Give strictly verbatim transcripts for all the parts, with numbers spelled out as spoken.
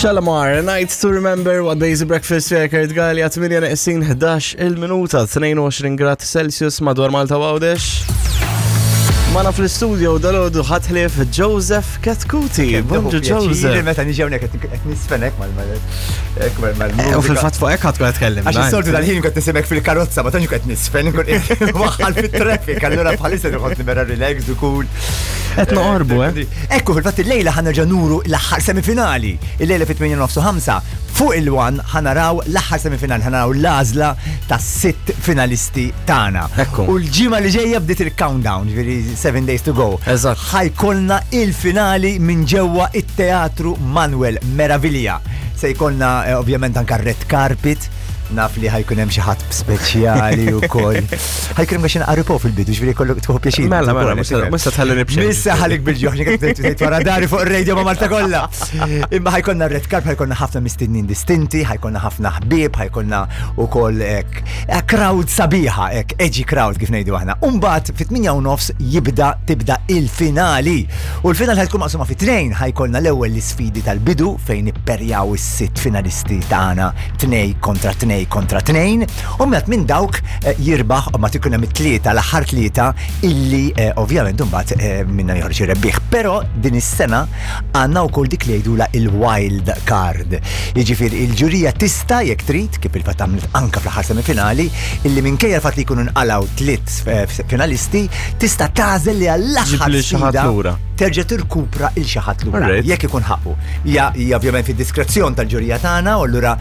Shalamar, A Night to Remember, what Daisy Breakfast fija Kurt Gallia, tmienja neqsin ħdax il-minuta, tnejn u għoxrin grad Celsius madwar Malta u Għawdex. Magħna fl-studio dalgħodu ħadd ħlief Joseph Chetcuti. Bonġu, Joseph. Meta niġi hawnhekk qed nisfenek mal mal mal Eh, U fil-fatt fuq hekk ħadd tkun tkellem. Għax is-soltu dal-ħin kont nisimek fil-karozza, ma tantx qed nisfen, nkun waħħal fit-traffic, allura bħalissa nħossni vera relaxed u cool. Qed noqorbu, eh? Ekku, fil-fatt il-lejla ħa nerġa' nuru l-aħħar semifinali. Il-lejla fit-tmienja nofs fuq il-One ħa naraw l-aħħar semifinali, ħa naraw l-għażla ta' sitt finalisti tagħna. Ekku. U l-ġimgħa li ġejja bdiet il-countdown, ġifieri seven days to go. Eżatt. Ħa jkollna il-finali minn ġewwa it-Teatru Manuel Meravilja. Se jkollna eh, ovvjament anka red carpet, naf li ħa jkun hemm xi ħadd speċjali wkoll. Ħa jkun hemm xi naqra fil-bidu, ġifieri kollok tieħu pjaċir. Mela, mela, mhux se tħallini b'xejn. Missa ħalik bil-ġuħ, tgħid wara dari fuq ir-radio ma' Malta kollha. Imma ħa jkollna red carpet, ħa jkollna ħafna mistednin distinti, ħa jkollna ħafna ħbieb, ħa jkollna wkoll hekk eh, crowd sabiħa, hekk edgy crowd kif ngħidu aħna. Umbagħad fit-tmienja u nofs jibda tibda il-finali. U l-finali ħa tkun maqsuma fi tnejn, ħa jkollna l-ewwel l-isfidi tal-bidu fejn ipperjaw is-sitt finalisti tagħna tnej kontra tnej kontra tnejn. U mbagħad minn dawk eh, jirbaħ u ma tikun hemm it-tlieta, l-aħħar tlieta illi eh, ovvjament imbagħad eh, minna joħroġ ir-rebbieħ. Però din is-sena għandna wkoll dik li jgħidula il-wild card. Jiġifieri il-ġurija tista' jekk trid, kif il-fatt għamlet anka fl-aħħar semifinali, illi minkejja l-fatt li jkunu nqalgħu tliet eh, finalisti, tista' tagħżel li għall-aħħar Ġib li xi ħadd sfida lura. terġa' tirkupra il xi ħadd lura. Alright. Jekk ikun ħaqqu. Hija hija ovvjament fid-diskrezzjon tal-ġurija tagħna u allura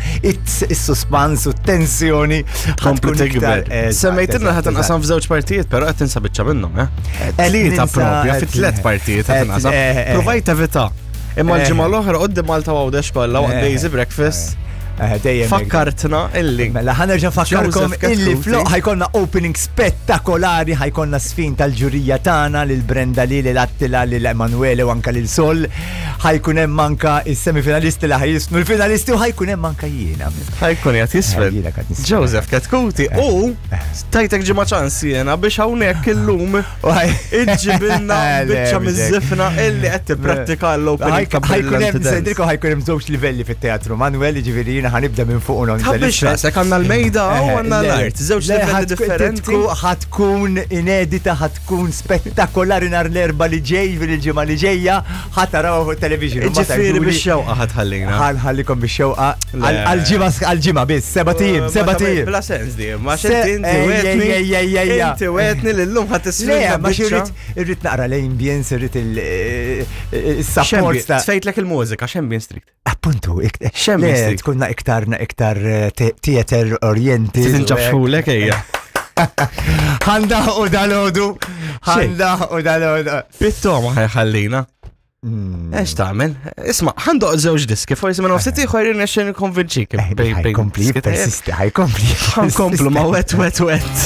is-suspans u t-tensjoni Kompli ħa tkun tikber. iktar- Eżatt, Semmejtilna eżatt, ħa tinqasam f'żewġ partijiet, però qed tinsa biċċa minnhom, eh? Qed Tlieta ninsa- propja fi qed- tliet partijiet qed qed- tinqasam. eh, eh. Provajt evita. Imma Eh. l-ġimgħa l-oħra qudiem Malta Għawdex kollha waqt Eh. Daisy Breakfast Eh, dejjem hekk. fakkartna illi Mela ħa nerġa' nfakkarkom Joseph illi Chetcuti. floq ħa jkollna opening spettakolari, ħa jkollna sfin tal-ġurija tagħna lil Brenda Lee, lil Attila, lil Emanuele u anka lil Sol. Ħa jkun hemm anka is-semifinalisti li ħa jiżfnu l-finalisti u ħa jkun hemm anka jiena. ħa jkun qed jiżfen. Eh, jiena qed nisfen. Joseph Chetcuti u tajtek ġimgħa ċans jiena biex hawnhekk illum iġġibilna Le, biċċa mhux hekk. miż-żifna illi qed tipprattika l-opening ta' Ħa jkun hemm Brilliant Dance. sejdilkom ħa jkun hemm żewġ livelli fit-teatru Manuel, jiġifieri jiena ħa nibda minn fuq u Ta' biex rasek għandna l-mejda u għandna l-art, żewġ livelli differenti. Ħa tkun inedita, ħa tkun spettakolari nhar l-Erbgħa li ġej, fil-ġimgħa li ġejja, ħa taraw fuq television. Ġifieri biex xewqa ħa tħallina. Ħa nħallikom biex xewqa Le. għal-ġimgħa għal-ġimgħa biss, sebat ijiem, sebat ijiem. Bla sens di, ma Se- xinti inti ej, wetni. ej, ej, ej, ej, Inti wetni l-lum ħa Le, tisfida. ma irrid irrid naqra l-ambience, irrid il-support ta' Tfejtlek il-mużika, x'ambient strict. Appuntu, X'ambient le, strict. tkunna iktar iktar eh, te- theater oriented. Tinġab xulek ejja. Ħa ndaħħqu dalgħodu, ħa ndaħħqu dalgħodu. Bittoma ħa jħallina. Ex tagħmel? Isma', ħa ndoqq żewġ diski, forsi minn ftit ieħor irnexxi nikkonvinċik. Ħa jkompli, persisti, ħa jkompli. Ħa nkomplu ma' Wet Wet Wet.